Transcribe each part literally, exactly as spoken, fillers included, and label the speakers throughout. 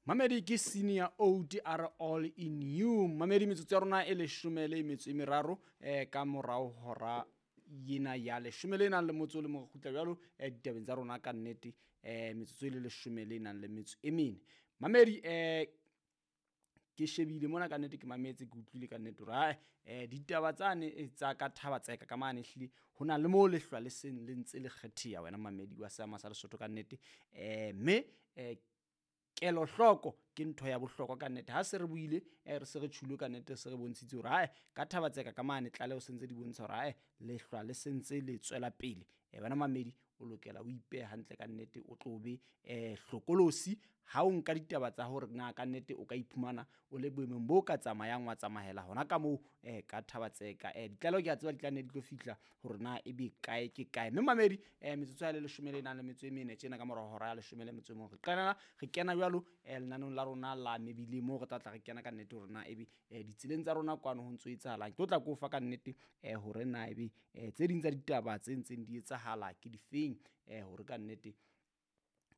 Speaker 1: Mamedi ke senior O D R all in you. Mamedi metsotso ya rona e leshome le metso e meraro eh ka morao hora yena ya leshome le nang le motso le mo kgutla jwalo eh ditabeng tsa rona ka nnete eh metsotso e le leshome le nang le metso e mene. Mamedi eh ke shebile mona ka nnete ke mametse ke utlwile ka nnete hore hai eh ditaba tsane tsa ka thaba tseka ka mane ehlile hona le mo lehlwa le seng le ntse le kgetheha wena mamedi wa seama sa Lesotho ka nnete eh mme eh kelohloko ke ntho ya bohlokwa ka nnete. Ha se re buile eh re se re tjhulo ka nnete, se re bontshitse hore hai ka thaba tseka ka mane tlaleho se ntse di bontsha hore hai lehlwa le sentse le tswela pele. Eh wena mamedi o lokela o ipehe hantle ka nnete, o tlo be eh hlokolosi ha o nka ditaba tsa hore na ka nnete o ka iphumana o le boemong bo ka tsamayang wa tsamahela hona ka moo eh ka thaba tseka. Eh ditlaleho ke a tseba di tla nne di tlo fihla hore na ebe kae ke kae. Mme mamedi eh metsotso ya le leshome le nang le metso e mene tjena ka morao hora ya leshome le metso e mong re qala re kena jwalo eh lenaneong la rona la mebileng moo re tla tla re kena ka nnete hore na ebe eh ditseleng tsa rona kwano ho ntso etsahalang. Ke tlo tla ko fa ka nnete eh hore na ebe eh tse ding tsa ditaba tse ntseng di etsahala ke difeng eh hore ka nnete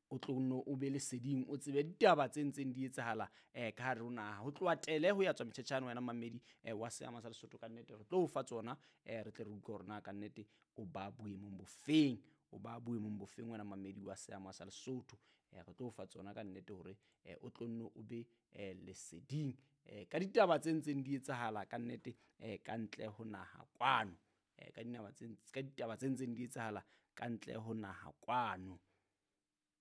Speaker 1: o tlo nno o be leseding o tsebe ditaba tse ntseng di etsahala eh ka hare ho naha. Ho tloha tele ho ya tswa metjhetjhane wena mamedi eh wa seama sa Lesotho ka nnete re tlo o fa tsona eh re tle re utlwe hore na ka nnete o ba boemong bofeng, o ba boemong bofeng wena mamedi wa seama sa Lesotho. Eh re tlo o fa tsona ka nnete hore eh o tlo nno o be eh leseding eh ka ditaba tse ntseng di etsahala ka nnete eh ka ntle ho naha kwano. Eh ka dinaba tse ka ditaba tse ntseng di etsahala ka ntle ho naha kwano.